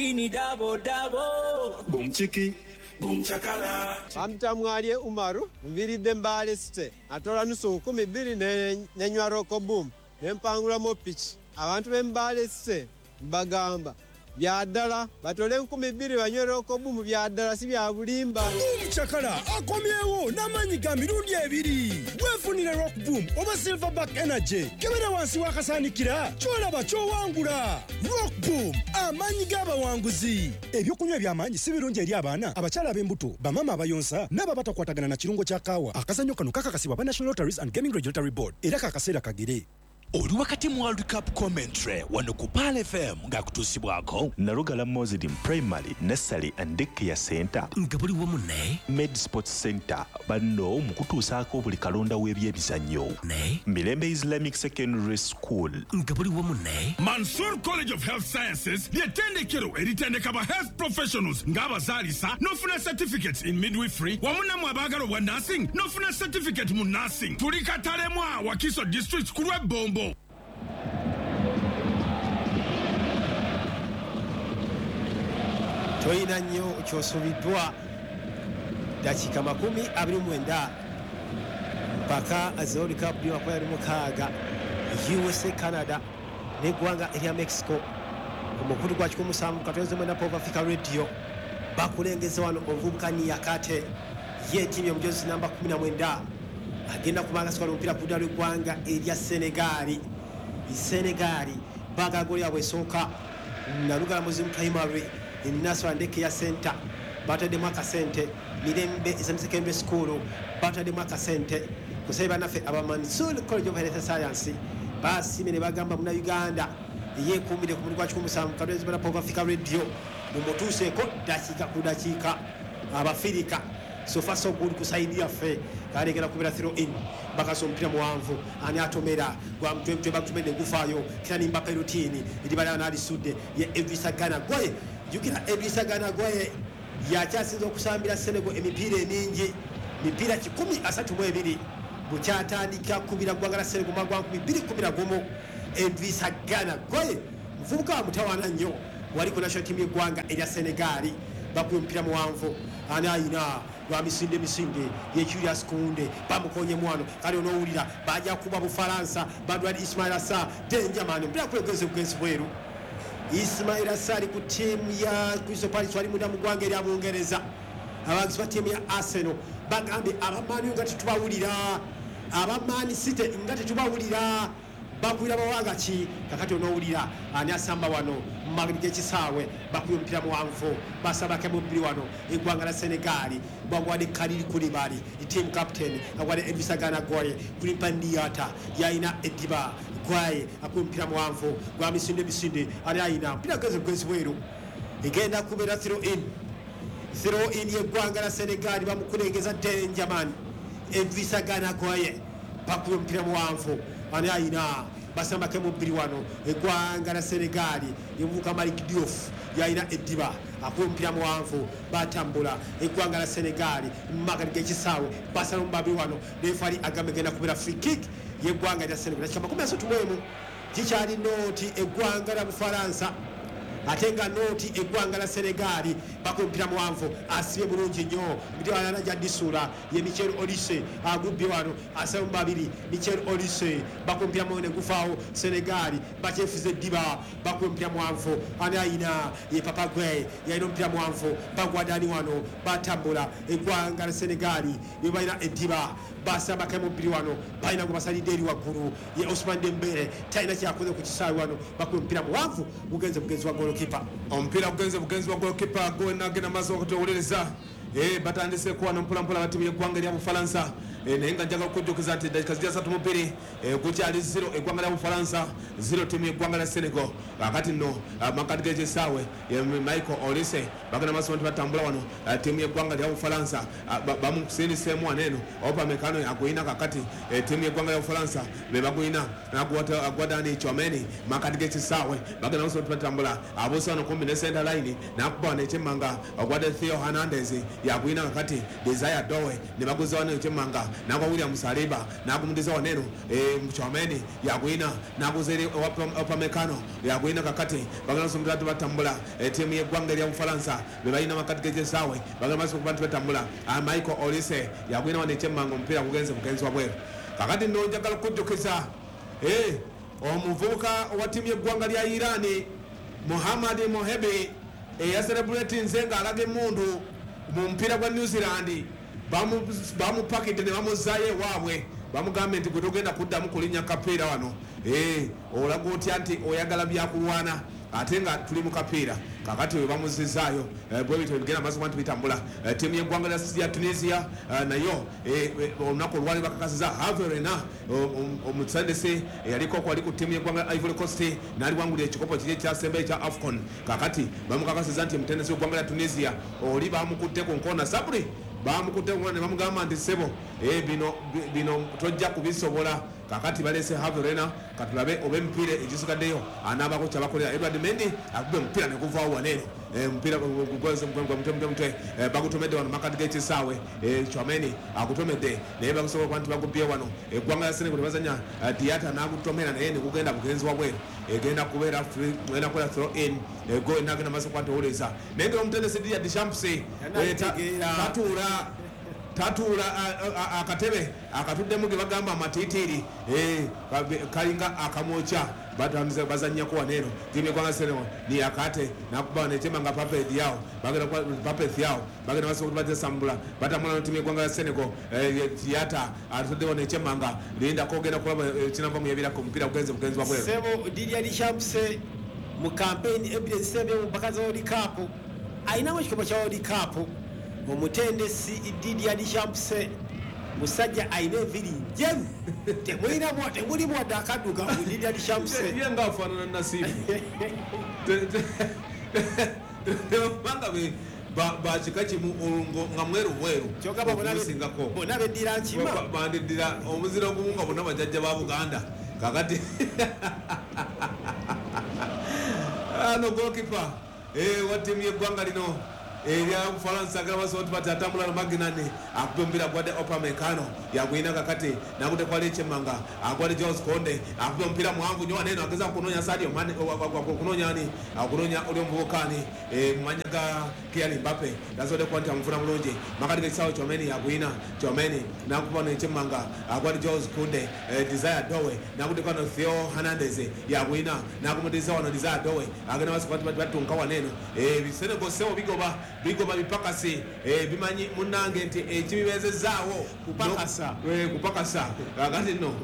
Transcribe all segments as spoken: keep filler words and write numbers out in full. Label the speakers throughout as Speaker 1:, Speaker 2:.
Speaker 1: Double, double.
Speaker 2: Boom chiki, boom chakala.
Speaker 3: Bamtamwalye Umaru, nviridde Mbale City. Atola nusu nkumi bbiri ne nywa Rock Boom, ne mpangulamu piki. Abantu b'e Mbale City mbagamba bya ddala batole enkumi bbiri banywe Rock Boom, bya ddala si bya bulimba.
Speaker 4: Boom Chakala akomyewo n'amaanyi ga mirundi ebiri. Weefunire Rock Boom oba Silverback Energy. Kebera wansi w'akasaanikira ky'olaba ky'owangula. Rock Boom, amaanyi g'abawanguzi. Ebyokunywa eby'amaanyi si birungi eri abaana, abakyala ab'embuto, bamaama abayonsa n'abo abatakwatagana na kirungo kya kaawa. Akazannyo kano kakakasibwa aba National Lotteries and Gaming Regulatory Board era kakaseera kagere.
Speaker 5: Oli wakati mu World Cup commentary wano ku Pearl F M ng'akutuusibwako
Speaker 6: Nalugala Muslim Primary Nursery and Daycare Center
Speaker 5: nga buli wamu ne
Speaker 6: Med Sports Center banno mu kutuusaako buli kalonda w'ebyemizannyo
Speaker 5: ne
Speaker 6: Mirembe Islamic Secondary School
Speaker 5: nga buli wamu ne
Speaker 7: Mansour College of Health Sciences ly'ettendekero eritendeka ba health professionals ng'abazaalisa n'ofuna certificates in midwifery wamu nammwe abaagala obwa nursing n'ofuna certificate mu nursing. Tuli Katalemwa, Wakiso District, ku lw'ebbombo.
Speaker 8: Toyina nnyo kyosubiddwa, dakiika makumi abiri mu mwenda mpaka World Cup makumi abiri mukaaga, U S A, Canada n'eggwanga erya Mexico ku mukutu gwa kikumi musanvu katwezi mwenda Pop Africa Radio. Bakulengeza wano omuvubuka Niyakate yeetiimye omujozi namba kumi na mwenda, agenda kubanga sikola omupiira ku ludda lw'eggwanga erya Senegali. Senegali baagala goli yabwe esooka. Nalugala Muslim Primary Nasra Daycare Center bataddemu akasente, Mirembe Islamic Secondary School bataddemu akasente, kusabe bannaffe aba Mansour College of Health Science basiimye ne bagamba Munnayuganda yeekuumire ku mulimu gwa kikumi musanvu katwezi Pop Africa Radio mumutuuseeko dakiika ku dakiika. Abafirika, so far so good. Ku side yaffe kalekera kubira throw in, bakasa omupiira muwanvu, ani atomera? Gwa mutwe, bagutumedde gufaayo. Kylian Mbappe rutini eribalaba n'alisudde ye Idrissa Gana Gueye. Jjukira Idrissa Gana Gueye yakyasinza okusambira Senegal emipiira emingi, mipiira kikumi asatu mu ebiri, bukyatandika kubira ggwanga la Senegal mwaka gwa nkumi bbiri kumi na gumu. Idrissa Gana Gueye muvubuka wa mutawaana nnyo, wali ku national team y'eggwanga erya Senegali. Bakuba omupiira muwanvu, ani ayina? Gwa misinde misinde, ye Julius Kunde, bamukonye mwano. Kale onoowulira bajja kuba Bufalansa badwali Ismaila Sarr, danger man, omupiira kwegeze bugenzi bweru. Ismaila Sarr ali ku ttiimu ya Crystal Palace, wali munda mu ggwanga erya Bungereza. Abawagizi ba ttiimu ya Arsenal bagambye aba Man U nga tetubawulira, aba Man City nga tetubawulira, bakubira bawanga ki? Kakati onoowulira ani asamba wano mumageri g'ekisaawe? Bakubye omupiira muwanvu, basabako mubiri wano eggwanga la Senegali. Bagwadde Kalidou Koulibaly, team captain, agwadde Idrissa Gana Gueye, Krépin Diatta yalina eddiba. Gueye akuba omupiira muwanvu gwa misinde misinde, ani ayina omupiira? Geze bugezi bweru, egenda kubeera throw in. Throw in y'eggwanga la Senegali, bamukulengeza danger man Idrissa Gana Gueye. Bakuba omupiira muwanvu, ani ayina? Basambako mubiri wano eggwanga la Senegali, emuvuka Malick Diouf yalina eddiba, akuba omupiira muwanvu, batambula eggwanga la Senegali mumakati g'ekisaawe, basala mubabi wano. Referee agamba egenda kubeera free kick y'eggwanga lya Senegal. Dakika makumi asatu mu emu, kikyali nought eggwanga la Bufalansa ate nga nought eggwanga la Senegali. Bakuba omupiira muwanvu, asibye bulungi nnyo mutewalana gyadisuula ye Michael Olise, agubbye wano, asaba mu babiri. Michael Olise bakuba omupiira muwanvu ne gufaawo. Senegali bakyefuza eddiba, bakuba omupiira muwanvu, ani ayina? Ye Papa Gueye yalina omupiira muwanvu, bagwadani wano, batambula eggwanga la Senegali be balina eddiba, basabako mubiri wano, balina gwe basalidde eri waggulu ye Ousmane Dembele, talina kyakoze ku kisaawe wano. Bakuba omupiira muwanvu, mugenze mugenzi wa golokipa.
Speaker 9: Omupiira gugenze bugenzi wa golokipa gwenagenda maaso okutuwuliriza. Eh, batandise kuwano mpolampola batimu y'eggwanga erya Bufalansa. Eh, naye nga njagala okujjukiza nti eddakiika zijja satu mu bbiri, eh, gukyali zero eggwanga lya Bufalansa zero ttiimu y'eggwanga lya Senegal. Kakati nno amakati g'ekisaawe ye Michael Olise, bagenda maaso nti batambula wano ah, ttiimu y'eggwanga lya Bufalansa ah, ba- bamusindiseemu wano eno Upamecano aguyina. Kakati eh, ttiimu y'eggwanga lya Bufalansa be baguyina, agwadani Tchouameni makati g'ekisaawe, bagenda maaso nti batambula, abuusa wano kumpi ne center line, nakuba wano ekyemmanga ogwadde Theo Hernandez yaguyina. Kakati Desire Doue ne baguza wano ekyemmanga. Nagwa William Saliba nagumudiza waneno eh Mchomeni yagwina naguzere Upamecano yagwina kakati bagala somutatu batambula timu yeggwanga lya Ufaransa bebalina makati gejesawe bagala maso kubantu batambula Michael Olise yagwina wanechemanga omupiira kugenze mugenzi wa bweru. Kakati nno njagala kujjukiza eh omuvubuka wa timu yeggwanga lya Irani Muhammad Mohebi eyaselebrate nzenga alaga emundu mu mpira gwa New Zealand bamupakidde ne bamuzaayo ewaabwe bamugambye nti gwe togenda kuddamu kulinnya kapiira wano eh olaga otya nti oyagala byakulwana ate nga tuli mu kapiira. Kakati we bamuzizaayo bwe bityo bigenda maaso nti bitambula. Ttiimu y'eggwanga lya Tunisia nayo olunaku olwali bakakasiza Hervé Renard omutendesi eyaliko kwali ku ttiimu y'eggwanga Ivory Coast n'aliwangulira ekikopo kiri ekyasembayo ekya AFCON. Kakati bamukakasiza nti omutendesi w'eggwanga lya Tunisia oli bamukutte ku nkona Sabri bamukutte ku nkona ne bamugamba nti ssebo bino bino tojja kubisobola. Kakati balese Hervé Renard katulabe oba emipiira egisigaddeyo anaabako kyabakolera. Edward Mendy akube omupiira ne guvaawo waneeno omupiira gugoze mutwe mutwe mutwe bagutomedde wano makati g'ekisaawe Chouameni agutomedde naye bagusobola okuba nti bagubye wano. Eggwanga lya Senegal tebazannya Diatta n'agutomera naye ne gugenda bugenzi wabweru egenda kubeera egenda kubeera throw in go nagenda maaso kuba nti owuliriza naye nga omutendesi Didier Deschamps tatuula tatuula akatebe akatuddemu ge bagamba amatiitiiri kalinga akamwokya batamize bazannyako waneeno ttiimu y'eggwanga Senegal ni akate nakuba nechemanga Pape Diaw bagenda Pape Thiaw bagenda basobola batesambula batambula n'ttiimu y'eggwanga Senegal Diatta atuddewo nechemanga linda kogenda kulaba kinava mu yabirako omupiira gugenze bugenzi wa bweru.
Speaker 8: Sebo Didier Deschamps mu campaign evidence sebe mu mpaka za World Cup ayinamu ekikopo kya World Cup. Omutendesi Didier Deschamps musajja ayina enviiri njeru temulinamu temulimu wadde akadduka mu Didier Deschamps
Speaker 9: ye nga afaanana Nasibu tebanga bakika kimu nga mweru bweru okusingako
Speaker 8: bonna beddira nkima
Speaker 9: bandiddira omuzira ogumu nga bonna bajjajja ba Buganda. Kakati ano goalkeeper wa ttiimu y'eggwanga lino erya Ufaransa agala basobola bati atambula na Magnani akuba omupiira gwadde Upamecano yagwina kakati nakutte kwali echemanga agwadde Jules Konde akuba omupiira muwanvu nnyo waneeno ageza kunoonya Sadio Mane kunoonya ani akunoonya oli omuvubuka ani mu mannya ga Kylian Mbappe tasobodde kuba nti amufuna bulungi makati g'ekisaawe Tchouameni yagwina Tchouameni nakuba n'echemanga agwadde Jules Konde Desire Dowe nakutte kwano Theo Hernandez yagwina nakumuddiza wano Desire Dowe agenda maaso kuba nti batunka waneeno Senegal sebo bigoba bigoba bipakasi bimanyi munnange nti ekibibezezaawo
Speaker 8: kupakasa
Speaker 9: kupakasa. Kakati nno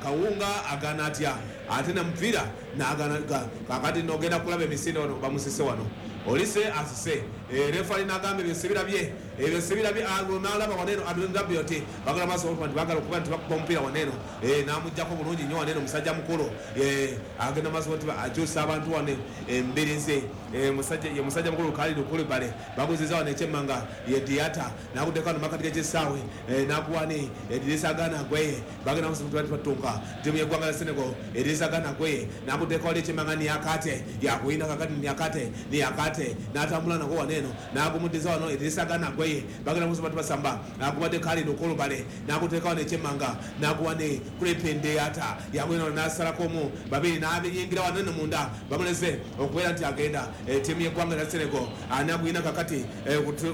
Speaker 9: Kawunga agana atya ate na mupiira n'agana. Kakati nno ogenda kulaba emisinde wano bamusise wano Olise asise refali n'agamba ebyo sibirabye ebyo sibirabye n'alaba waneeno Adrian Rabiot bagala maaso nti bagala okuba nti bakuba omupiira waneeno n'amuggyako bulungi nnyo waneeno musajja mukulu agenda maaso nti akyusa abantu wano embirizi ye musajja mukulu Kalidou Koulibaly baguziza wano ekyemmanga ye Diatta n'aguddeko wano makati g'ekisaawe n'akuwa ni Idrissa Gana Gueye bagenda maaso nti batunka ttiimu y'eggwanga lya Senegal Idrissa Gana Gueye n'aguddeko wali ekyemmanga Niakate yakwina kakati Niakate Niakate n'atambula nako waneeno n'agumuddiza wano Idrissa Gana Gueye bagenda maaso nti basamba n'akubadde Kalidou Koulibaly n'aguteeka wano ekyemmanga n'akuwa ne Krépin Diatta yakwina wano n'asalako omu babiri n'abiyingira wano eno munda bamulese okubeera nti agenda ttiimu y'eggwanga lya Senegal anagwina kakati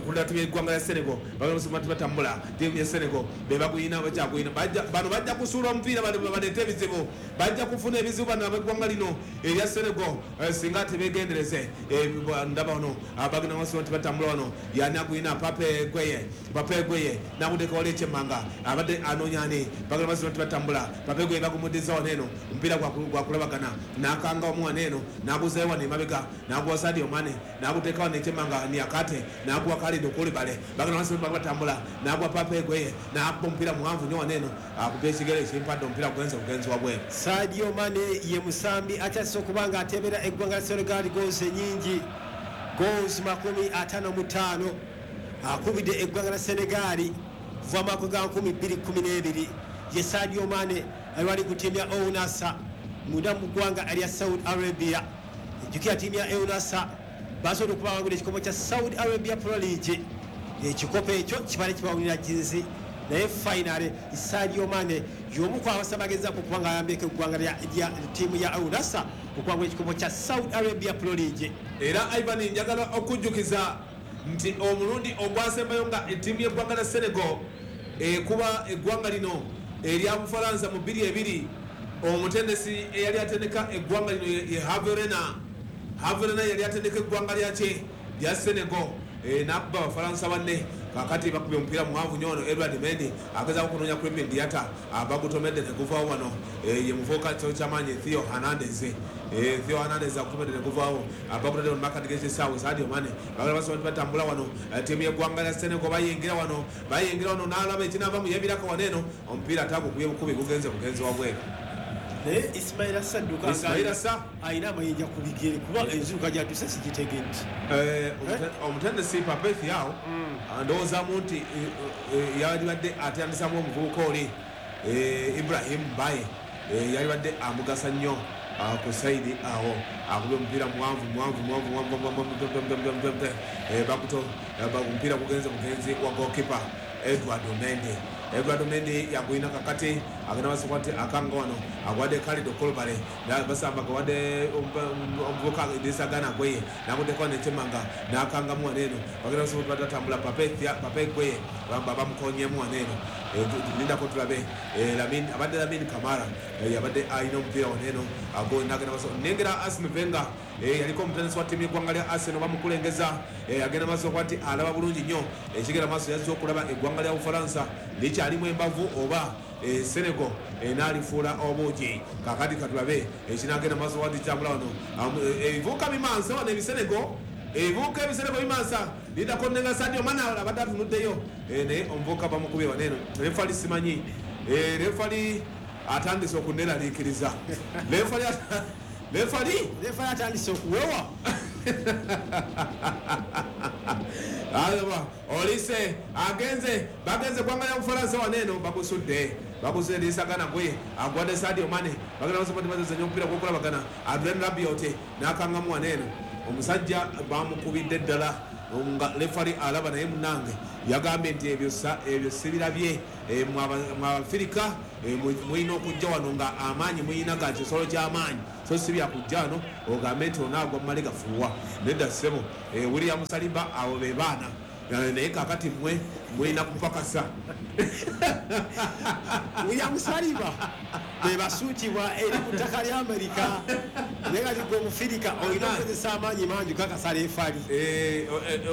Speaker 9: kulira ttiimu y'eggwanga lya Senegal bagenda nti batambula ttiimu ya Senegal be bagwina bakyagwina bano bajja kusuula omupiira baleete ebizibu bajja kufuna ebizibu bano ab'eggwanga lino erya Senegal singa tebeegendereze. Ndaba wano bagenda maaso nti batambula wano yanagwina Pape Gueye Pape Gueye n'aguteeka wali ekyemmanga abadde anoonya ani bagenda maaso nti batambula Pape Gueye bagumuddiza wano eno omupiira gwakulabagana n'akanga omu wano eno n'aguzayo wano emabega n'aguwa Sadio Mane n'aguteeka wano ekyemmanga Niakate n'aguwa Kalidou Koulibaly bagenda maaso nti batambula n'aguwa Pape Gueye n'akuba omupiira muwanvu nnyo wano eno akuba ekigere ekimpadde omupiira gugenze bugenzi wabweru.
Speaker 8: Sadio Mane ye musambi akyasise okuba nga ateebera eggwanga lya Senegal goals ennyingi goals makumi ataano mu ttaano akubidde eggwanga lya Senegal kuva mwaka gwa nkumi bbiri kkumi n'ebiri ye Sadio Mane ali ku ttiimu ya Al Nassr munda mu ggwanga erya Saudi Arabia. Ejjukira ttiimu ya Al Nassr basobola okubawangula ekikopo kya Saudi Arabia Pro League. Ekikopo ekyo kibale kibawulira jinsi Naye finally Sadio Mane y'omu ku abasabagezako okuba nga ayambyeko eggwanga lya ttiimu ya Al Nassr okuwangula ekikopo kya Saudi Arabia Pro League.
Speaker 9: Era Ivan, njagala okujjukiza nti omulundi ogwasembayo nga ettiimu y'eggwanga lya Senegal ekuba eggwanga lino erya Bufalansa mu bbiri ebiri, omutendesi eyali atendeka eggwanga lino ye Hervé Renard. Hervé Renard yali atendeka eggwanga lyakye lya Senegal n'akuba Abafalansa banne. Kakati bakubye omupiira muwanvu nnyo ono Edward Mendy agezaako kunoonya Krépin Diatta, bagutomedde ne guvaawo wano. Ye muvubuka kyamaanyi Theo Hernandez, Theo Hernandez akutomedde ne guvaawo, bagutadde mu makati g'ekisaawe. Sadio Mane bagala basobola batambula wano, ttiimu y'eggwanga lya Senegal bayingira wano, bayingira wano n'alaba ekinaava mu yebirako wano eno, omupiira atagukubye bukubi gugenze bugenzi wabweru.
Speaker 8: Naye Ismaila Sarr dduka
Speaker 9: Ismaila Sarr
Speaker 8: alina amayinja ku bigere kuba enziruka gy'atuse sigitegedde.
Speaker 9: Omutendesi Pape Thiaw ndowoozamu nti yalibadde atandisamu omuvubuka oli Ibrahim Mbaye, yalibadde amugasa nnyo ku sayidi awo. Akubye omupiira muwanvu muwanvu muwanvu muwanvu, bakuto omupiira gugenze bugenzi wa goalkeeper Edward Mendy. Edward Mendy yagwina kakati agenda maaso nti akanga wano agwadde Kalidou Koulibaly, basamba gawadde omuvubuka Idrissa Gana Gueye nakuddeko nekyemanga n'akangamu wano eno, bagenda maaso batatambula Pape Pape Gueye bamukonyemu wano eno. Lindako tulabe Lamine, abadde Lamine Camara yabadde alina omupiira wano eno nagenda maaso. Nnengera Arsene Wenger yaliko omutendesi wa ttiimu y'eggwanga lya Arsenal bamukulengeza, agenda maaso okuba nti alaba bulungi nnyo ekigenda maaso, yazze okulaba eggwanga lya Bufalansa likyalimu embavu oba Senegal n'alifuula obuugi. Kakati katulabe ekinagenda maaso wati kitambula wano, ebivuuka bimansa wano ebisenego, ebivuuka ebisenego bimansa. Lindako nnenga Sadio Mane abadde atunuddeyo naye omuvubuka bamukubye wano eno. Refali simanyi, refali atandise okuneeraliikiriza. Refali refali
Speaker 8: refali atandise okuwewa.
Speaker 9: Alaba Olise agenze bagenze gwanga lya Bufalansa wano eno bagusudde bagusudde Idrissa Gana Gueye agwadde Sadio Mane, bagenda maaso bazanya omupiira gw'okulabagana. Adrien Rabiot n'akangamu wano eno, omusajja bamukubidde ddala nga refali alaba naye munnange yagambye nti ebyo ebyo sibirabye. Mwe Abafirika mulina okujja wano nga amaanyi mulina ga kisolo ky'amaanyi, so si byakujja wano ogambe nti onaagwa mumale gafuuwa. Nedda ssebo, William Saliba abo be baana, naye kaakati mmwe mulina kupakasa.
Speaker 8: William Saliba be basuutibwa eri ku ttaka lya Amerika, naye kati gwe Omufirika olina okukozesa amaanyi mangi kakasa refali.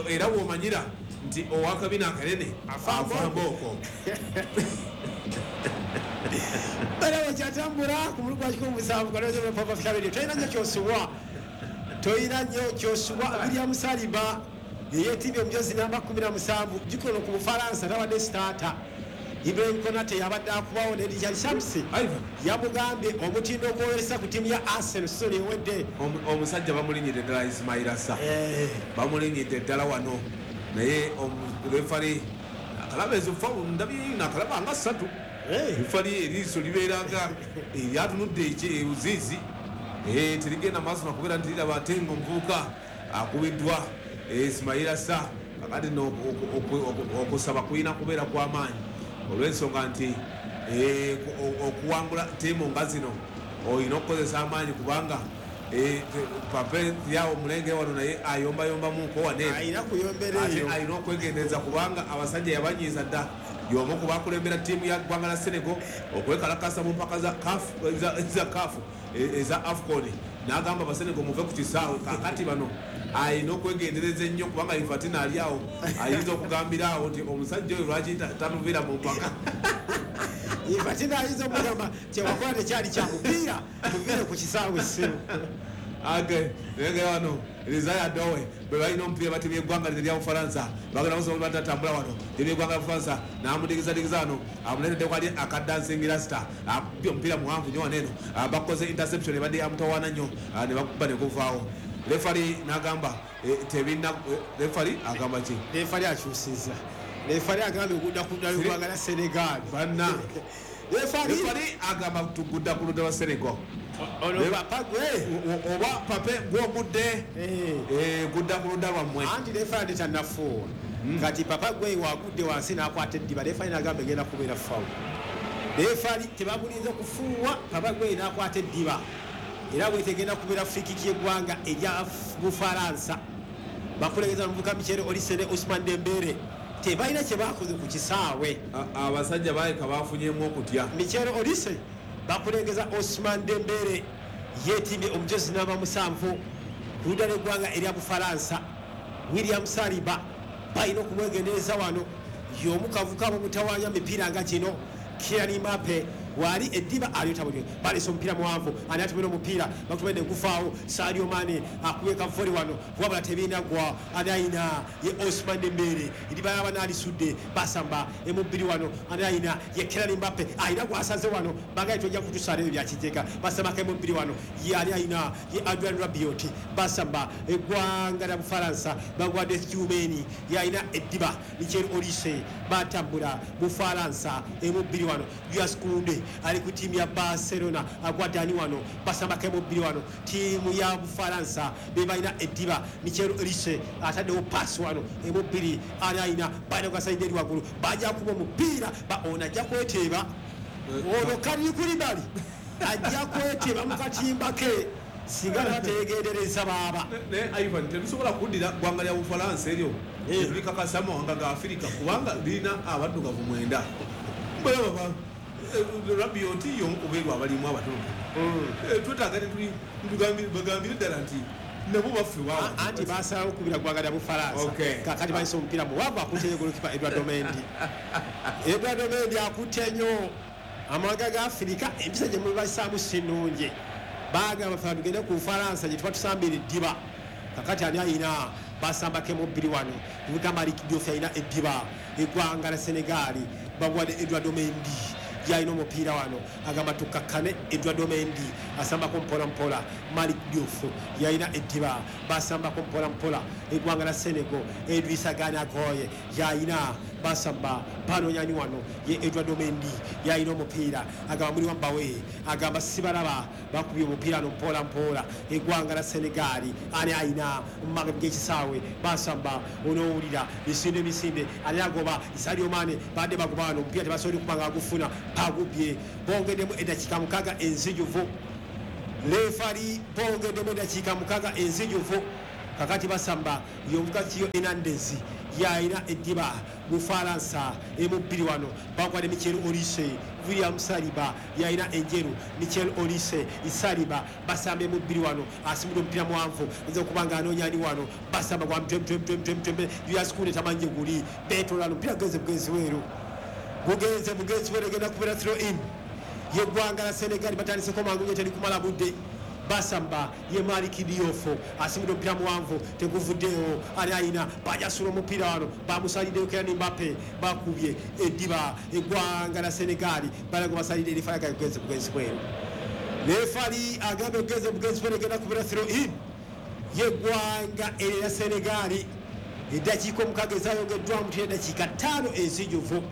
Speaker 9: Era bw'omanyira nti owakabina akanene afa mbooko.
Speaker 8: Balawo kyatambula ku mulugu gwa kikumi musanvu kalozepapa tolina nnyo kyosubwa, tolina nnyo kyosubwa. William Saliba yeyeetibye omujozi namba kumi na musanvu gikono ku Bufalansa tabadde sitaata. Ibrahim Konate yabadde akubawo ne Richard Shamsi yamugambye omutindo ogwolesa ku ttiimu ya Arsenal season ewedde.
Speaker 9: Omusajja bamulinyidde ddala Ismaila Sarr, bamulinyidde ddala wano, naye refali akalaba ezo fawulo ndabye nakalaba nga ssatu. Refali eriiso libeera nga eryatunudde ebuziizi, terigenda maaso nakubeera nti liraba ate nga omuvubuka akubiddwa Ismaila Sarr. Kakati nno okusaba kulina kubeera kw'amaanyi olw'ensonga nti okuwangula ttiimu nga zino olina okukozesa amaanyi, kubanga Pape Thiaw omulengere wano naye ayombayombamuko wano eno, ate alina okwegendereza kubanga abasajja yabanyiiza dda. Y'omu ku bakulembera ttiimu ya ggwanga lya Senegal okwekalakasa mu mpaka za CAF eza AFCON, n'agamba Abasenegal muve ku kisaawe. Kaakati bano alina okwegendereza ennyo kubanga Infantino ali awo ayinza okugambira awo nti omusajja oyo lwaki tanuviira mu mpaka.
Speaker 8: Infantino ayinza okugamba kyewakola tekyali kya mupiira, tuviire ku kisaawe ssimu.
Speaker 9: Age nenge wano Rizaya Dowe bwe balina omupiira batibye eggwanga lino erya Bufalansa, bagenda basobola batatambula wano tibye eggwanga lya Bufalansa n'amudigizadigiza wano amuleeteddeko ali akadansingira star akubye omupiira muwanvu nnyo wano eno, bakoze interception ebadde yamutawaana nnyo ne bakuba ne guvaawo. Refali n'agamba tebina, refali agamba ki?
Speaker 8: Refali akyusizza, refali agambye okudda ku ddala eggwanga lya Senegal.
Speaker 9: Bannange Refari agamba tugudda ku ludda lwa Senegal. Oba Pape gwogudde gudda ku ludda lwammwe.
Speaker 8: Anti refari tannafuuwa. Kati Papa Gwe wagudde wansi n'akwata eddiba, refari n'agamba egenda kubeera foul. Refari tebamulinze kufuuwa, Papa Gwe n'akwata eddiba. Era bwetegenda kubeera free kick y'eggwanga erya Bufalansa. Bakulegeza omuvubuka Michel Olise ne Ousmane Dembele. Tebalina kye bakoze ku kisaawe.
Speaker 9: Abasajja baleka bafunyemu okutya.
Speaker 8: Michel Olise bakulengeza Ousmane Dembele yeetimbye omujozi namba musanvu ku ludda lw'eggwanga erya Bufalansa. William Saliba balina okumwegendereza wano, y'omu kavuka bamutawaanya mipiira nga gino. Kylian Mbappe wali eddiba alyotabulye balese omupiira muwanvu, ani atumira omupiira bakutumedde gufaawo. Sadio Mane akubye kavoli wano wabula tebinagwa, ani ayina ye Ousmane Dembele, eddiba yaba n'alisudde basamba emubbiri wano, ani ayina ye Kylian Mbappe ayina gwasaze wano bagaye tojja kutusaala ebyo bya kijega. Basambako emubbiri wano ye ani ayina ye Adrien Rabiot, basamba eggwanga lya Bufalansa bagwadde Tchouameni ye ayina eddiba. Michel Olise batambula Bufalansa emubbiri wano, Julius Kounde ali ku ttiimu ya Barcelona agwadde ani wano, basambako emubbiri wano ttiimu ya Bufalansa be balina eddiba. Michel Olise ataddewo paasi wano emubbiri, ani ayina balina gwasalidde eri waggulu, bajja kuba omupiira ono ajja kweteeba, ono Kalidou Koulibaly ajja kweteeba mu katimba ke singa bateegendereza baaba.
Speaker 9: Naye Ivan, tetusobola kuddira ggwanga lya Bufalansa eryo tetulikakasa mawanga ga Afirika kubanga lirina abaddugavu mwenda. Rabiot y'omu ku beeru abalimu abatono. Twetaaga bagambire ddala nti nabo baffe waawe.
Speaker 8: Anti basalawo okukubira ggwanga lya Bufalansa. Kaakati balese omupiira muwanvu akutte nnyo golokipa Edouard Mendy. Edouard Mendy akutte nnyo amawanga ga Afirika, empisa gye mubasaamu si nnungi. Bagamba ffe tugende ku Bufalansa gye tuba tusambira eddiba. Kakati ani ayina basambako emubbiri wano, muvubuka Malick Diouf ayina eddiba. Eggwanga lya Senegal bagwadde Edouard Mendy yalina omupiira wano, agamba tukakkane. Edouard Mendy asambako mpola mpola. Malick Diouf yalina eddiba, basambako mpola mpola. Eggwanga lya Senegal Idrissa Gana Gueye yalina, basamba panonyani wano ye Edouard Mendy yalina omupiira, agamba muli wambawe, agamba sibalaba, bakubye omupiira no mpola mpola. Eggwanga lya Senegal ani ayina mumagabo g'ekisaawe, basamba onoowulira misinde misinde, ani agoba Sadio Mane, badde bagoba wano omupiira tebasobole kuba nga agufuna, pagubye. Bongeddemu eddakiika mukaaga enzijuvu, refari bongeddemu eddakiika mukaaga enzijuvu. Kakati basamba y'omuvubuka Theo Hernandez yalina eddiba Bufalansa emubbiri wano, bagwadde Michel Olise. William Saliba yalina enjeru, Michel Olise Saliba basamba emubbiri wano, asimudde omupiira muwanvu ayinza okuba nga anoonya ani wano, basamba gwa mtwemtwemtwemtwembe. Julius Kounde tamanyi guli beetoolano, omupiira gugenze bugenzi weeru, gugenze bugenzi weeru, egenda kubeera throw in y'eggwanga lya Senegal. Batandiseko mangu nnyo, teri kumala budde. Basamba ye Malick Diouf asimudde omupiira muwanvu teguvuddeewo, ani ayina bajasula omupiira wano, bamusaliddeyo Kylian Mbappe, bakubye eddiba. Eggwanga lya Senegal balago basalidde erifali gugenze bugenzi bweru. Refali agambye gugenze bugenzi bweru, egenda kubeera throw in y'eggwanga erya Senegal. Eddakiika omukaaga ezayongeddwamu tera eddakiika ttaano enzijuvu,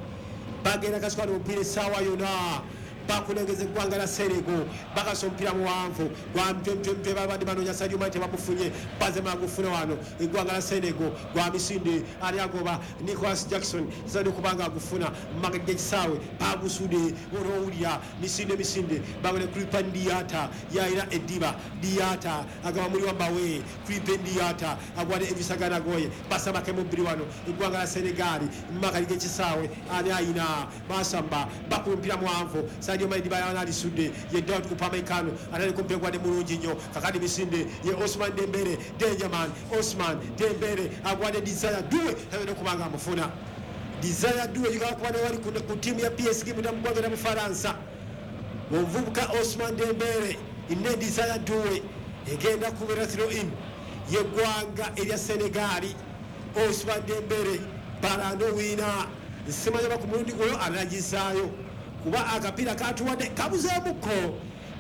Speaker 8: bagenda kasukana omupiira essaawa yonna. Bakulengeza eggwanga lya Senegal, bakasa omupiira muwanvu gwa mtwemtwemtwe, babadde banoonya Sadio Mane tebamufunye, bazema agufuna wano. Eggwanga lya Senegal gwa misinde, ali agoba Nicolas Jackson tasobodde okuba nga agufuna mumagego g'ekisaawe, bagusudde onoowulira misinde misinde, bagone Krépin Diatta yalina eddiba. Diatta agamba muli wambawe, Krépin Diatta agwadde Idrissa Gana Gueye, basambako emubbiri wano. Eggwanga lya Senegal mumagego g'ekisaawe, ani ayina basamba bakuba omupiira muwanvu, Sadio Mane eddiba y'anaalisudde ye Daud Upamecano atandika omupiira gwadde mulungi nnyo. Kakati misinde ye Ousmane Dembele, Dangerman Ousmane Dembele agwadde Desire Doue, tasobodde okuba nga amufuna. Desire Doue yigala kuba newali ku ttiimu ya P S G munda mu ggwanga lya Bufalansa. Omuvubuka Ousmane Dembele ne Desire Doue egenda kubeera throw in y'eggwanga erya Senegal. Ousmane Dembele balando wiina, simanyi oba ku mulundi guno anagizaayo kuba akapiira katuwadde kabuzeemukko.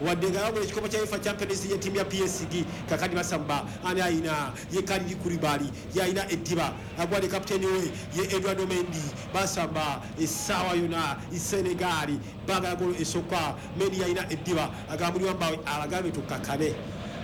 Speaker 8: Wadde nga yawangula ekikopo kya UEFA Champions League ttiimu ya P S G. Kakati basamba ani ayina ye Kalidou Koulibaly yalina eddiba agwa ne kapiteeni we ye Edouard Mendy. Basamba essaawa yonna Senegal baagala golo esooka. Mendy yalina eddiba agambulirwa mbawe abagambye tukkakane.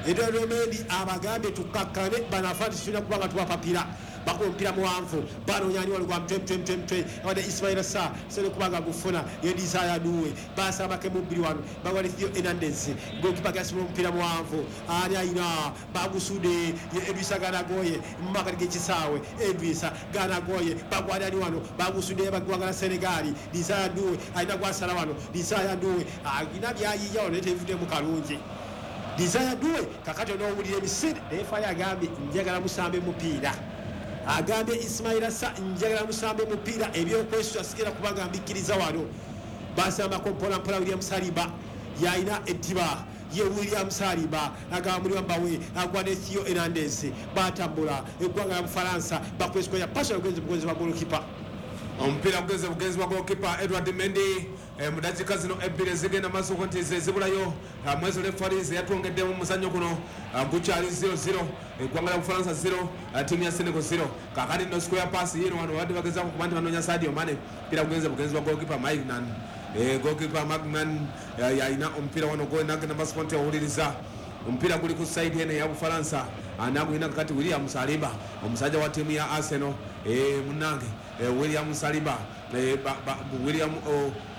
Speaker 8: Edouard Mendy abagambye tukkakane banafa tetulina kuba nga tubapapira. Bakuba omupiira muwanvu banoonya ani wali gwa mutwe mutwe mutwe mutwe abadde Ismaila Sarr sole kubanga gufuna ye Desire Doue basambako emubbiri wano bagwa ne Theo Hernandez goalkeeper gasibula omupiira muwanvu ani ayina bagusudde ye Idrissa Gana Gueye mu makkati g'ekisaawe. Idrissa Gana Gueye bagwa ani wano bagusudde baggwanga la Senegal. Desire Doue alina gwasala wano. Desire Doue alina byayiya wano naye tebivuddemu kalungi. Desire Doue kakati onoowulira emisinde naye Fali agambye njagala musambe mupiira. Agambye Ismaila Sarr njagala musambe mupiira ebyokwesula sigera kubanga mbikkiriza wano. Basambako mpola mpola William Saliba yalina eddiba ye William Saliba agambulirwa mbawe agwa ne Theo Hernandez batambula eggwanga lya Bufalansa bakwesikoya pasa ogenze bugenzi wa goalkeeper.
Speaker 9: Omupiira gugenze bugenzi wa goalkeeper Edouard Mendy mu dakiika zino ebbiri ezigenda maaso nti ze zibulayo mwezi referees yatwongeddemu muzannyo guno gukyali zero zero eggwanga lya Bufalansa zero ttiimu ya Senegal zero. Kakati nno square pass yino wano babadde bagezaako kuba nti banoonya Sadio Mane. Omupiira gugenze bugenzi wa goalkeeper Maignan. Goalkeeper Maignan yalina omupiira wano gw'enagenda maaso nti owuliriza omupiira guli ku side eno eya Bufalansa anagulina kakati William Saliba omusajja wa ttiimu ya Arsenal munnange William Saliba William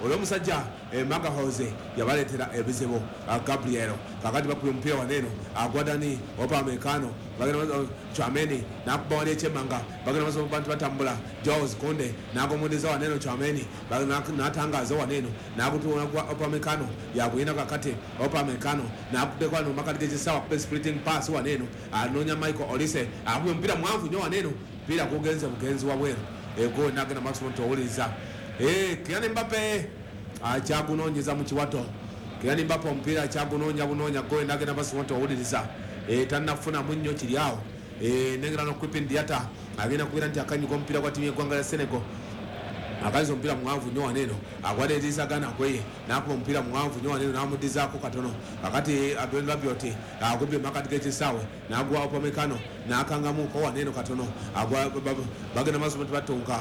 Speaker 9: olw'omusajja Magahoze yabaleetera ebizibu Gabriel. Kakati bakubye omupiira waneeno agwadani Upamecano bagenda Tchouameni n'akuba wali ekyemmanga bagenda maaso bantu batambula Jules Kounde n'agomudiza waneeno Tchouameni n'atangaaza waneeno n'agutuula gwa Upamecano yagulina kakati Upamecano n'akuddeko wano makati g'ekisaawe akuba splitting pass waneeno anoonya Michael Olise akubye omupiira mwanvu nnyo waneeno omupiira gugenze bugenzi wabweru ego nagenda maximum towuliriza. Kylian Mbappe akyagunoonyeza mu kiwato. Kylian Mbappe omupiira akyagunoonya bunoonya go nagenda maximum towuliriza tannafunamu nnyo kiri awo. Nengera n'Krépin Diatta agenda kubeera nti akanyuga omupiira gwa ttiimu y'eggwanga lya Senegal. Akaza omupiira muwanvu nnyo waneeno agwadde Idrissa Gana Gueye n'akuba omupiira muwanvu nnyo waneeno n'amuddizaako katono. Kakati Adrien Rabiot agubye makati g'ekisaawe n'agwa Upamecano n'akangamuko waneeno katono agwa bagenda maaso nti batunka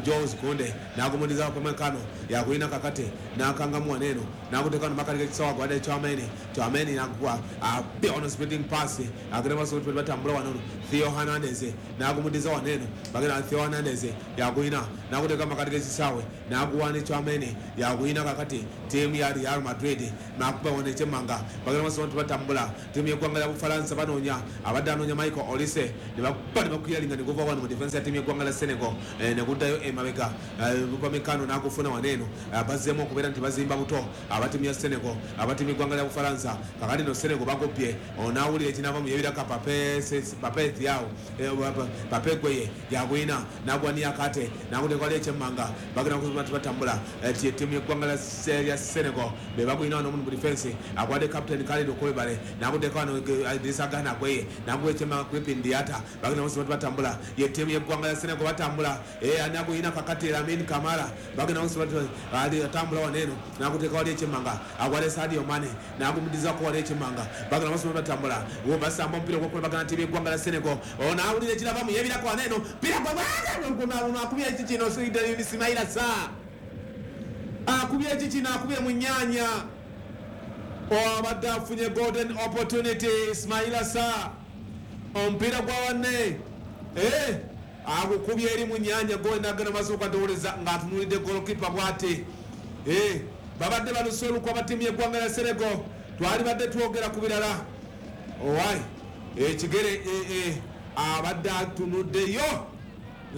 Speaker 9: Jules Kounde n'agumudiza Upamecano yakulina kakati n'akangamu waneeno n'aguteeka no makati g'ekisaawe agwadde Tchouameni Tchouameni n'agwa apia ono splitting pass agenda maaso nti batambula wano Theo Hernandez n'agumudiza waneeno bagenda Theo Hernandez yakulina n'aguteeka makati g'ekisaawe n'aguwa ne Tchouameni yakulina kakati ttiimu ya Real Madrid n'akuba wano ekyemmanga bagenda maaso nti batambula ttiimu y'eggwanga lya Bufalansa banoonya abadde anoonya Michael Olise ne bakuba ne bakuyalinga ne guva wano mu defense ya ttiimu y'eggwanga lya Senegal ne guddayo emabega Upamecano n'agufuna waneeno bazzeemu okubeera nti bazimba buto aba ttiimu ya Senegal aba ttiimu y'eggwanga lya Bufalansa. Kakati no Senegal bagobbye onaawulira ekinaava mu yebiraka Pape Pape Thiaw Pape Gueye yagwina n'agwa Niakate n'aguteeka wali ekyemmanga bagenda kuba nti batambula ttiimu y'eggwanga lya Senegal be bagwina wano mu defense agwadde captain Kalidou Koulibaly n'aguteeka wano Idrissa Gana Gueye n'aguwa ekyemmanga Krépin Diatta bagenda kuba nti batambula ye ttiimu y'eggwanga lya Senegal batambula anagwina kakati Lamine Camara bagenda kuba nti atambula waneeno n'aguteeka wali ekyemmanga agwadde Sadio Mane n'agumudizaako wali ekyemmanga bagenda kuba nti batambula basamba omupiira ogw'okulabagana ttiimu y'eggwanga lya Senegal onaawulira ekirava mu yebirako waneeno mpira gwa akubye eki kino Ismaila Sarr akubye eki kino akubye mu nnyanya abadde afunye golden opportunity Ismaila Sarr omupiira gwa wanne agukubye eri mu nnyanya gwenagenda masooka ndowoleza ng'atunuulidde goalkeeper bw'ati. Babadde baluse olukwa aba ttiimu y'eggwanga lya Senegal twali badde twogera ku birala owai ekigere abadde atunuddeyo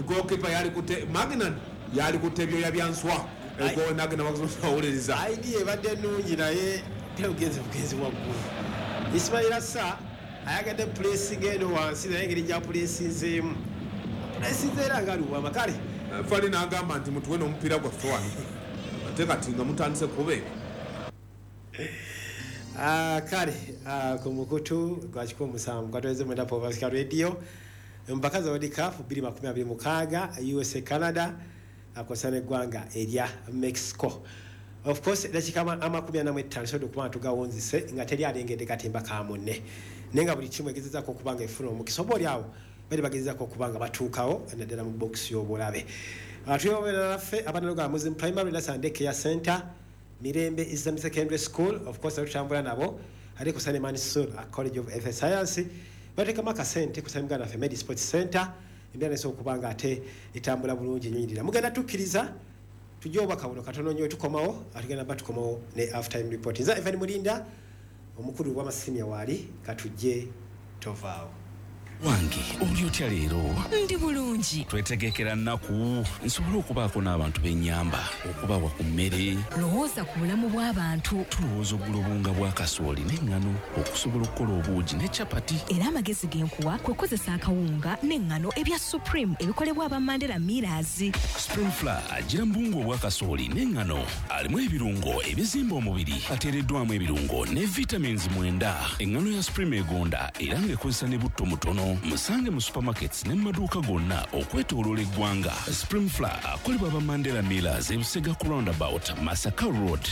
Speaker 9: goalkeeper yali kute Magnan yali kutte ebyoya bya nswa gonagenda owuliriza
Speaker 8: idea ebadde ennungi naye tebugenzi bugenzi waggulu. Ismaila Sarr ayagadde pulesinga eno wansi naye engeri gyapulesinzeemu pulesinze era nga luwama kale
Speaker 9: Fali n'agamba nti mutuwe n'omupiira gwaffe wano ate kati nga mutandise kuba ebyo.
Speaker 8: Kale ku mukutu gwa kikumi musanvu gwatweze mwenda Pavasika Radio empaka za World Cup bbiri makumi abiri mukaaga U S A Canada akosa n'eggwanga erya Mexico. Of course dakika amakumi ana mu ttaano sodo okuba nga tugawunzise nga teri alengedde katimba ka munne, naye nga buli kimu egezezaako okuba nga efuna omukisa oba oli awo bali bagezezaako okuba nga batuukawo naddala mu bokisi y'obulabe. Tuyoberera naffe abanaloga Muslim Primary Nasande Care Center, Mirembe Islamic Secondary School, of course tutambula nabo ate ku Sane Mansur College of Health Science, bateekamu akasente ku Sane Muganda Medi Sports Center, embeera nesobola okuba nga ate etambula bulungi nnyinirira. Mugenda tukkiriza tujje obubaka buno katono nnyo tukomawo, atugenda ba tukomawo ne half time report. Nze Evan Mulinda omukulu w'amasimu waali katujje tovaawo.
Speaker 5: Wange oli otya leero?
Speaker 10: Ndi bulungi.
Speaker 5: Twetegekera nnaku nsobole okubaako n'abantu b'ennyamba okubawa ku mmere.
Speaker 10: Lowooza ku bulamu bw'abantu.
Speaker 5: Tulowooza ogula obuwunga bwa kasooli n'eŋŋano okusobola okukola obuugi ne capati.
Speaker 10: Era amagezi ge nkuwa kwe kukozesa akawunga n'eŋŋano ebya Supreme ebikolebwa aba Mandela Millers.
Speaker 5: Supreme Flour agira mu buwunga obwa kasooli n'eŋŋano alimu ebirungo ebizimba omubiri, ateereddwamu ebirungo ne vitamins mwenda. Eŋŋano ya Supreme egonda era ng'ekozesa ne butto mutono. Musange mu supermarkets ne mu maduuka gonna okwetooloola eggwanga. Supreme Flour akolebwa aba Mandela Millers ebusega ku roundabout Masaka Road.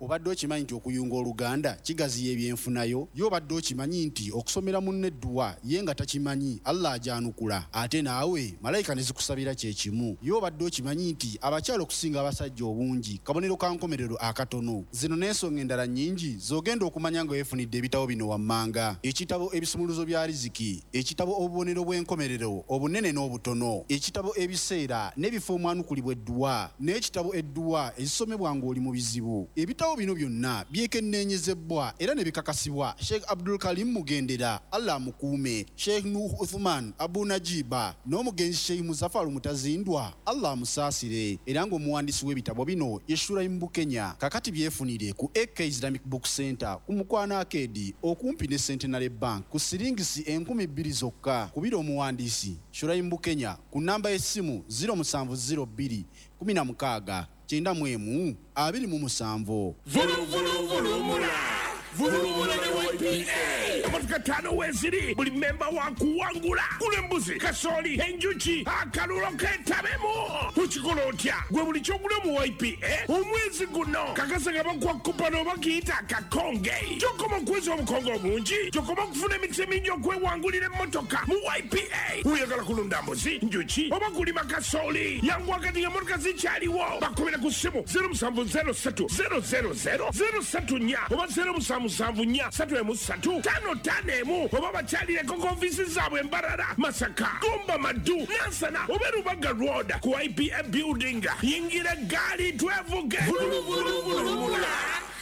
Speaker 11: Obadde okimanyi nti okuyunga oluganda kigaziya ebyenfunayo? Ye obadde okimanyi nti okusomera munne edduwa ye nga takimanyi Allah ajanukula, ate naawe malayika ne zikusabira kye kimu? Ye obadde okimanyi nti abakyala okusinga abasajja obungi kabonero ka nkomerero akatono? Zino n'ensonga endala nnyingi z'ogenda okumanya nga weefunidde ebitabo bino wammanga: ekitabo ebisumuluzo bya riziki, ekitabo obubonero bw'enkomerero obunene n'obutono, ekitabo ebiseera n'ebifo omwanukulibwa edduwa, n'ekitabo edduwa ezisomebwa ng'oli mu bizibu. Ebitabo bino byonna byekenneenyezebwa era ne bikakasibwa Sheikh Abdul Karim Mugendera, Allah amukuume, Sheikh Nuh Uthman Abu Najiba n'omugenzi Sheikh Muzafaru Mutazindwa, Allah amusaasire. Era ng'omuwandiisi w'ebitabo bino ye Shuraim Bukenya. Kakati byefunire ku A K Islamic Book Center ku Mukwano Arcade okumpi ne Centenary Bank ku siringisi enkumi bbiri zokka. Kubira omuwandiisi Shuraim Bukenya ku namba y'essimu zero musanvu zero bbiri kumi na mukaaga kyenda mu emu abiri mu musanvu.
Speaker 7: Vuluvuluvulumula vuluvula ne Y P A emotoka ttaano weeziri buli memba wa kuwangula. Gula embuzi, kasooli, enjuki, akalulo keetabemu. Okikola otya? Gwe buli ky'ogula mu Y P A omwezi guno kakasa nga bakuwa kupano oba kiyita akakonge. Gy'okoma okuweza obukonge obungi, gy'okoma okufuna emikisa emingi okwewangulira emmotoka mu Y P A. Oyagala kulunda mbuzi, njuki oba kulima kasooli, yanguwa kati ng'emmotoka zikyaliwo. Bakubira ku ssimu zero musanvu zero ssatu zero zero zero zero ssatu nnya oba zero musanvu musanvu nnya ssatu emu ssatu ttaano ttaano emu oba bakyalireko ku ofiisi zaabwe Mbarara, Masaka, Gomba, Maddu, Nansana oba Rubaga Road ku Y P A building. Yingira eggaali twevuge. Vuluvuluvulumula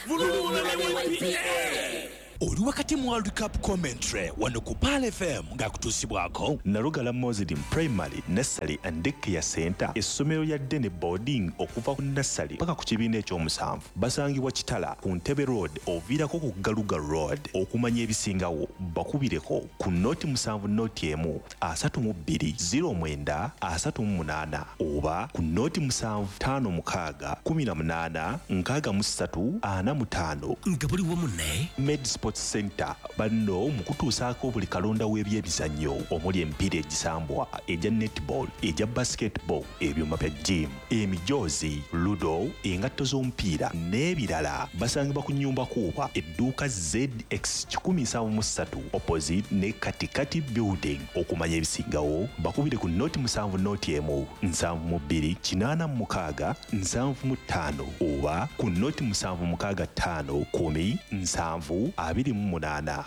Speaker 7: vuluvula ne Y P A.
Speaker 5: Oli wakati mu World Cup commentary wano ku Pearl F M ng'akutuusibwako
Speaker 6: Nalugala Muslim Primary Nursery and Daycare Center, essomero lya Dene Boarding okuva ku nursery paka ku kibiina ekyomusanvu. Basangibwa Kitala ku Ntebe Road oviirako ku Galuga Road. Okumanya ebisingawo bakubireko ku noti musanvu noti emu asatu mu bbiri zero mwenda asatu mu munaana oba ku noti musanvu ttaano mukaaga kumi na munaana nkaaga mu ssatu ana mu ttaano.
Speaker 5: Nga buli wamu ne
Speaker 6: Med Sports Center banno mu kutuusaako buli kalonda w'ebyemizannyo omuli emipiira egisambwa, egya netball, egya basketball, ebyuma bya gym, emijoozi, ludo, engatto z'omupiira n'ebirala. Basangibwa ku nnyumba kuuba edduuka Z X kikumi nsanvu mu ssatu opposite ne Katikati building. Okumanya ebisingawo bakubire ku noti musanvu noti emu nsanvu mu bbiri kinaana mu mukaaga nsanvu mu ttaano oba ku noti musanvu mukaaga ttaano kumi nsanvu abiri mu munaana.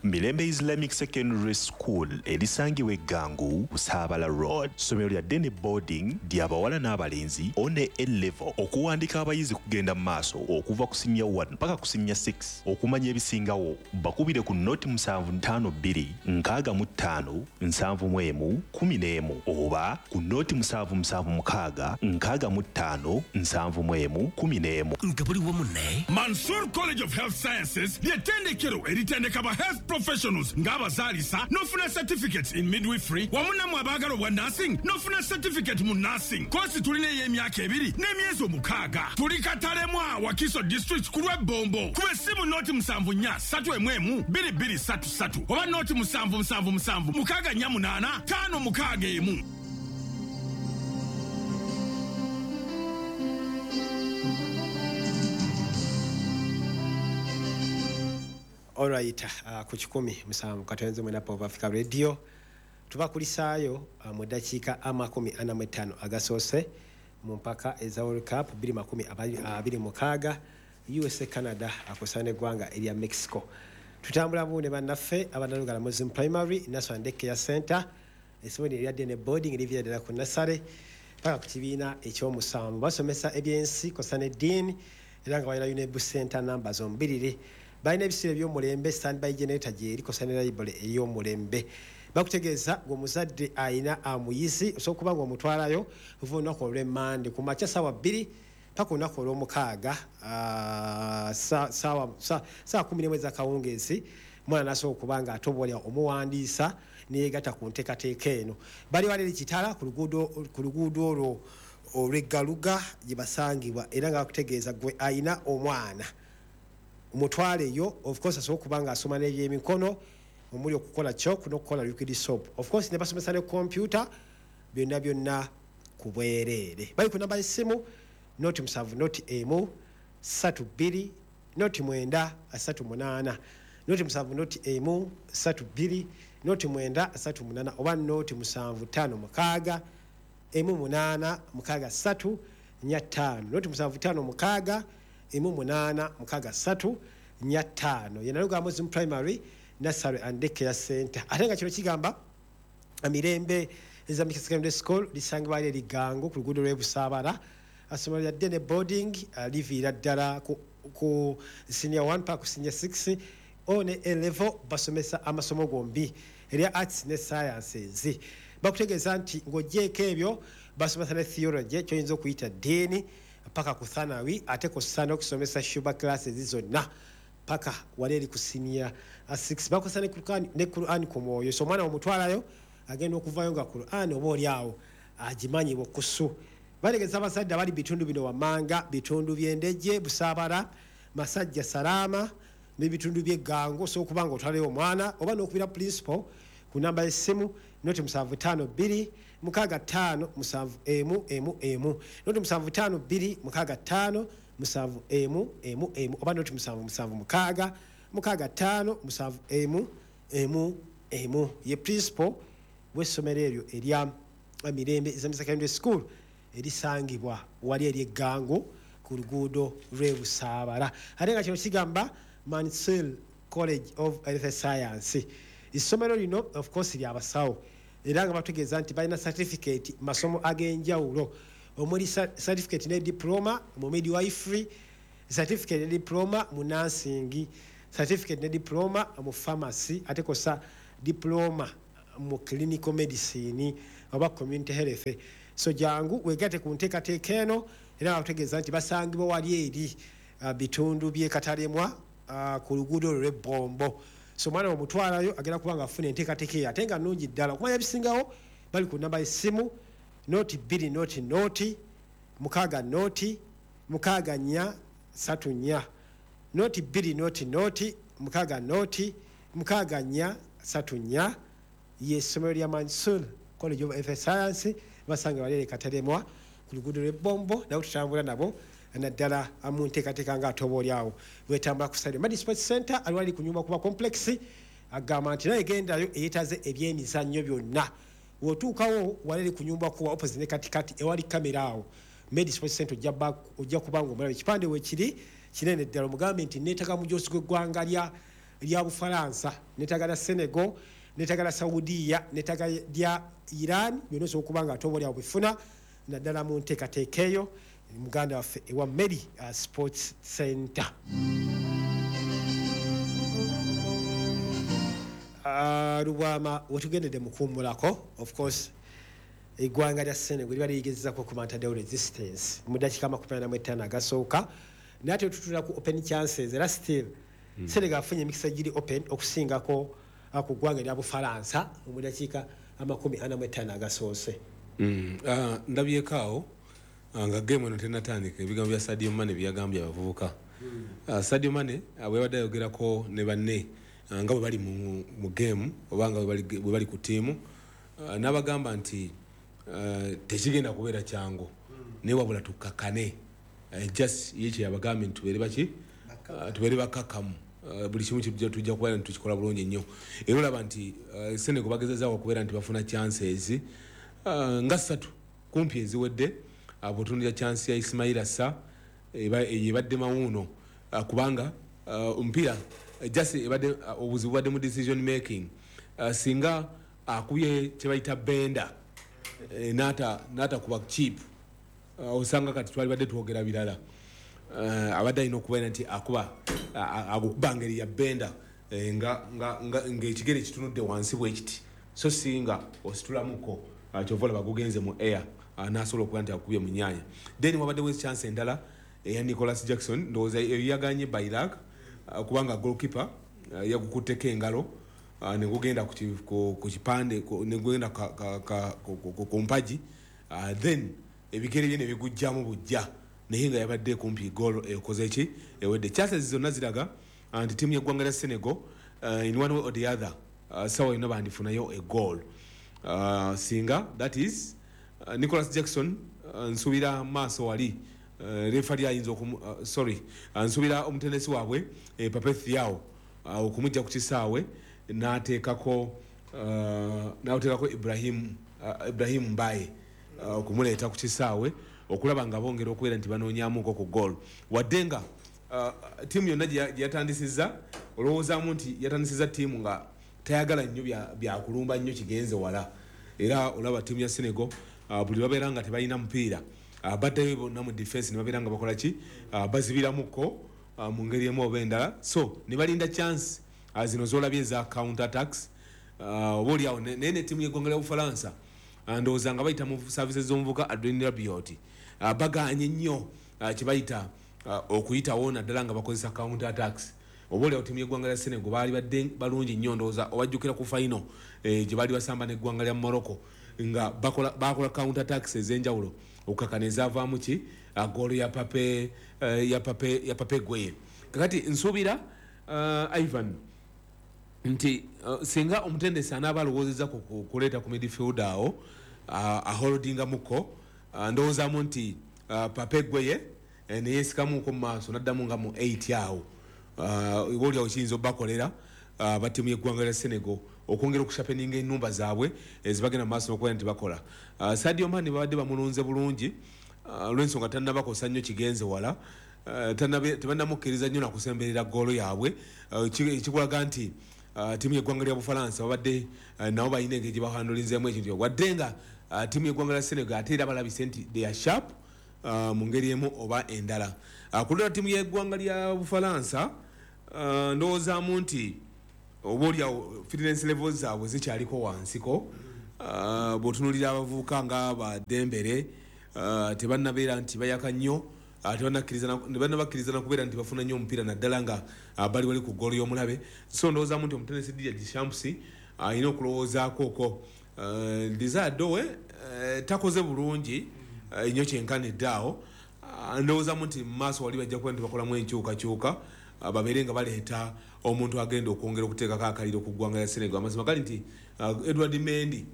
Speaker 6: Mirembe Islamic Secondary School erisangibwa Eggangu Busaabala Road. Ssomero lya Dene Boarding ly'abawala n'abalenzi one A level. Okuwandika abayizi kugenda mu maaso okuva ku senior one paka ku senior six. Okumanya ebisingawo bakubire ku noti musanvu ttaano bbiri nkaaga mu ttaano nsanvu mu emu kumi n'emu oba ku noti musanvu musanvu mukaaga nkaaga mu ttaano nsanvu mu emu kumi n'emu.
Speaker 5: Nga buli wamu ne
Speaker 7: Mansur College of Health Sciences ly'ettendekero eritendeka ba health professionals ng'abazaalisa n'ofuna certificates in midwifery wamu nammwe abaagala obwa nursing n'ofuna certificate mu nursing. Koosi tulina ey'emyaka ebiri n'emyezi omukaaga. Tuli Katalemwa, Wakiso District ku lw'Ebbombo. Kuba essimu noti musanvu nnya ssatu emu emu bbiri bbiri ssatu ssatu oba noti musanvu musanvu musanvu mukaaga nnya munaana ttaano mukaaga emu.
Speaker 8: Alright, uh, ku kikumi musanvu katonze mwena Power Africa Radio. Tubakulisaayo uh, mu ddakiika amakumi ana mu ttaano agasoose mu mpaka eza World Cup bbiri makumi abiri mukaaga U S A Canada akosaana eggwanga erya Mexico. Tutambula bu ne bannaffe abanalugala Muslim Primary National Daycare Center, essomero erya Dene Boarding erivira ddala ku Nasale paka ku kibiina ekyomusanvu. Basomesa ebyensi kosa n'eddiini era nga balina UNEB Center namba zombiriri. Balina ebisiro eby'omulembe, standby generator gyeri kosa ne library ey'omulembe. Bakutegeeza ng'omuzadde ayina amuyizi osobola okuba ng'omutwalayo okuva olunaku olw'emmande ku makya ssaawa bbiri paka olunaku olw'omukaaga ssaawa kumi n'emu ez'akawungeezi, omwana n'asobola okuba nga atobolya omuwandiisa neyegatta ku nteekateeka eno. Bali wali eri Kitala ku luguudo olwo olw'Eggaluga gye basangibwa, era nga bakutegeeza gwe ayina omwana omutwaleyo. Of course asobola okuba nga asoma n'ebyemikono omuli okukola chalk n'okukola liquid soap. Of course ne basomesa ne computer, byonna byonna ku bwereere. Bali ku namba y'essimu noti musanvu noti emu ssatu bbiri noti mwenda asatu munaana, noti musanvu noti emu ssatu bbiri noti mwenda asatu munaana, oba noti musanvu ttaano mukaaga emu munaana mukaaga ssatu nnya ttaano, noti musanvu ttaano mukaaga emu munaana mukaaga ssatu nnya ttaano. Ye Nalugala Muslim Primary Nursery and Daycare Center. Ate nga kino kigamba Mirembe Islamic Secondary School lisangibwa eri Gango ku luguudo lw'e Busaabala. Essomero lya Dene Boarding liviira ddala ku, ku senior one paka ku senior six o ne A level. Basomesa amasomo gombi erya arts ne sciences. Bakutegeeza nti ng'oggyeeko ebyo basomesa ne theology ky'oyinza okuyita ddiini paka ku thanawi, ate kw'ossa n'okusomesa shuba classes zonna paka wali eri ku senior six. Bakozesa ne Quran ku mwoyo, so omwana omutwalayo agenda okuvayo nga Quran oba oli awo agimanyi bukusu. Bategeeza abazadde abali bitundu bino wammanga: bitundu by'Endejje, Busaabala, Masajja, Salaama n'ebitundu by'Eggango. Osobola okuba nga otwalayo omwana oba n'okubira principal ku namba y'essimu noti musanvu ttaano bbiri mukaaga ttaano musanvu emu emu emu, noti musanvu ttaano bbiri mukaaga ttaano musanvu emu emu emu, oba noti musanvu musanvu mukaaga mukaaga ttaano musanvu emu emu emu. Ye principal w'essomero eryo erya Mirembe Islamic Secondary School erisangibwa wali eri Eggango ku luguudo lw'e Busaabala. Ate nga kino kigamba Mansell College of Health Science. Essomero lino of course lya basawo, era nga batutegeeza nti balina certificate masomo ag'enjawulo omuli certificate ne diploma mu midwifery, certificate ne diploma mu nursing, certificate ne diploma mu pharmacy, ate kosa diploma mu clinical medicine oba community health. So jangu wegatte ku nteekateeka eno, era bakutegeeza nti basangibwa wali eri uh, bitundu by'e Katalemwa uh, ku luguudo olwo lw'Ebbombo. So omwana omutwalayo agenda kuba nga afuna enteekateeka eyo ate nga nnungi ddala. Okumanya ebisingawo bali ku namba y'essimu noti bbiri noti noti mukaaga noti mukaaga nnya ssatu nnya, noti bbiri noti noti mukaaga noti mukaaga nnya ssatu nnya. Ye essomero lya Mansur College of Health Science, basanga bali eri Katalemwa ku luguudo lw'Ebbombo. Nabo tutambula nabo naddala mu nteekateeka nga ate oba oli awo wetambula ku Stadium. Madi Sports Center ali wali ku nyumba kuba complex, agamba nti naye gendayo eyeetaze ebyemizannyo byonna. W'otuukawo wali eri ku nyumba kuba opposite ne katikati ewali kamera awo Medi Sports Center ojja kuba ng'omulaba ekipande weekiri kinene ddala. Omugambe nti neetaaga mujoozi gw'eggwanga lya lya Bufalansa, neetaaga lya Senegal, neetaaga lya Saudiya, neetaaga lya Iran, byonna osobola okuba nga ate oba oli awo bifuna naddala mu nteekateeka eyo muganda waffe ewa Medi uh, Sports Center. Uh, Lubwama wetugendedde mu kuwummulako, of course eggwanga lya Senegal liba ligezezaako okumantaddewo resistance mu ddakiika amakumi ana mu ttaano agasooka, naye ate tutula ku open chances era still mm. Senegal afunye emikisa giri open okusingako ku ggwanga erya Bufalansa mu ddakiika amakumi ana mu ttaano agasoose.
Speaker 9: Mm. Uh, ndabyeko awo nga game eno tennatandika ebigambo bya Sadio Mane byeyagambye abavubuka. Mm. Uh, Sadio Mane bwe yabadde ayogerako ne banne uh, nga bwe bali mu, mu game oba nga bwe bali ku ttiimu, uh, n'abagamba nti uh, tekigenda kubeera kyangu, mm. naye wabula tukkakane. Uh, just ye kye yabagambye nti tubeere baki? Uh, tubeere bakkakkamu. uh, buli kimu kijja tujja kubeera nti tukikola bulungi nnyo. Era olaba nti uh, Senegal bagezezaako okubeera nti bafuna chances uh, nga ssatu kumpi eziwedde. uh, bw'otunuulira chance ya Ismaila Sarr ebadde mawuuno, uh, kubanga uh, omupiira just ebadde uh, obuzibu bwadde mu decision making. uh, singa akubye kye bayita benda eh, n'ata n'atakuba chip, uh, osanga kati twali badde twogera birala. uh, abadde alina okubeera nti akuba agukuba ngeri ya benda eh, nga nga ng'ekigere kitunudde wansi bwe kiti, so singa ositulamuko uh, kyova olaba gugenze mu air, uh, n'asobola okuba nti akubye mu nnyanya. Then wabaddewo chance endala eya Nicholas Jackson, ndowooza yaganye Bailak, uh, kubanga goalkeeper uh, yagukutteko engalo, uh, ne gugenda ku ki- ku ku kipande ku- ne gugenda ka- ka- ka- ku- ku ku mpagi, uh, then ebigere bye ne bigujjamu bujja, naye nga yabadde kumpi goal ekoze ki ewedde. Chances zonna ziraga uh, nti ttiimu y'eggwanga lya Senegal uh, in one way or the other uh, sawa yonna bandifunayo a goal, uh, singa that is uh, Nicholas Jackson. uh, nsuubira maaso wali uh, refari ayinza okumu uh, sorry uh, nsuubira omutendesi waabwe eh, Pape Thiaw uh, okumujja ku kisaawe n'ateekako uh, n'ateekako Ibrahim uh, Ibrahim Mbaye, uh, okumuleeta ku kisaawe okulaba nga bongera okubeera nti banoonyamuko ku goal, wadde nga uh, ttiimu yonna gye gye yatandisizza olowoozaamu nti yatandisizza ttiimu nga tayagala nnyo bya- byakulumba nnyo kigenze wala. Era olaba ttiimu ya Senegal uh, buli babeera nga tebalina mupiira, uh, baddayo bonna mu defense ne babeera nga bakola ki, uh, bazibiramuko uh, mu ngeri emu oba endala, so ne balinda chance uh, zino z'olabye eza counter attacks, uh, oba oliawo. Naye ne ttiimu y'eggwanga lya Bufalansa, uh, ndowooza nga bayita mu services z'omuvuka Adrien Rabiot, uh, baganye nnyo uh, kye bayita uh, okuyitawo naddala nga bakozesa counter attacks. Oba oliawo ttiimu y'eggwanga lya Senegal baali badde balungi nnyo, ndowooza obajjukira ku final eh, gye baali basamba n'eggwanga lya Morocco nga bakola bakola counter attacks ez'enjawulo okukakana ezaavaamu ki uh, goolo ya Pape eh, ya Pape ya Pape Gueye. Kakati nsuubira uh, Ivan nti uh, singa omutendesi anaaba alowoozezza ku ku- kuleeta ku midfield awo uh, aholdingamuko, uh, ndowoozaamu nti uh, Pape Gueye eh, neyeesikamuko mu maaso n'addamu nga mu eight awo, uh, oba oliawo kiyinza obbakolera uh, battiimu y'eggwanga lya Senegal okwongera okushapeninga ennumba zaabwe ezibagenda mu maaso n'okubeera nti bakola. uh, Sadio Mane babadde bamulunze bulungi, uh, olw'ensonga tannabakosa nnyo kigenze wala, uh, tannabe- tebannamukkiriza nnyo nakusemberera goolo yaabwe, uh, ki- ekikulaga nti uh, ttiimu y'eggwanga lya Bufalansa babadde uh, nabo balina engeri gye bahandulinzeemu ekintu, wadde nga uh, ttiimu y'eggwanga lya Senegal ate era balabise nti they are sharp uh, mu ngeri emu oba endala. uh, ku lulala ttiimu y'eggwanga lya Bufalansa, uh, ndowoozaamu nti oba oliawo fitness levels zaabwe zikyaliko wansiko. uh, bw'otunuulira abavubuka nga badembere, uh, tebannabeera nti bayaka nnyo, uh, tebannakkiriza na- tebannabakkiriza na kubeera nti bafuna nnyo omupiira naddala nga uh, bali wali ku ggoolo y'omulabe. So ndowoozaamu nti omutendesi Didier Deschamps alina okulowoozaako okwo. uh, Desire Dowe uh, takoze bulungi uh, nnyo kyenkanidde awo. Uh, ndowoozamu nti mu maaso wali bajja kuba nti bakolamu enkyukakyuka, uh, babeere nga baleeta omuntu agenda okwongera okuteekako akaliro ku ggwanga lya Senegal. Amazima gali nti uh, Edward Mendy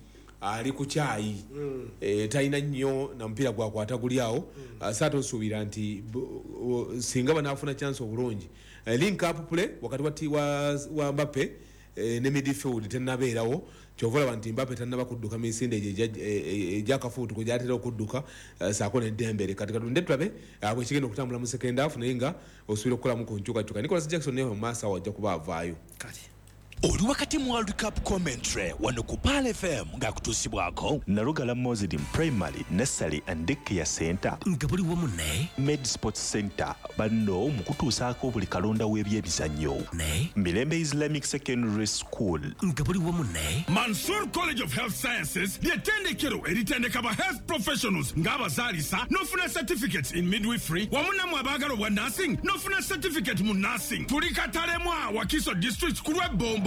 Speaker 9: ali ku kyayi, mm. e, talina nnyo na mupiira gwakwata guli awo. mm. uh, saate osuubira nti bu- o- singa banaafuna chance obulungi, uh, link up play wakati wa, ti- wa, wa Mbappe eh, ne midfield tennabeerawo, kyova olaba nti Mbappe tannaba kudduka misinde egyo egya- e- e- egyakafuutuko gyatera okudduka, eh, saako ne Dembele. Kati katunde tulabe eh, bwe kigenda okutambula mu second half, naye nga osuubira okukolamu ku nkyukakyuka. Nicholas Jackson naye mu maaso awo ajja kuba avaayo.
Speaker 8: Kale.
Speaker 12: Oli wakati mu World Cup commentary wano ku Pearl F M ng'akutuusibwako
Speaker 6: Nalugala Muslim Primary Nursery and Daycare Center
Speaker 12: nga buli wamu ne
Speaker 6: Med Sports Center banno mu kutuusaako buli kalonda w'ebyemizannyo
Speaker 12: ne
Speaker 6: Mirembe Islamic Secondary School
Speaker 12: nga buli wamu ne
Speaker 7: Mansur College of Health Sciences ly'ettendekero eritendeka ba health professionals ng'abazaalisa n'ofuna certificates in midwifery, wamu nammwe abaagala obwa nursing n'ofuna certificate mu nursing. Tuli Katalemwa, Wakiso District, ku lw'Ebbombo.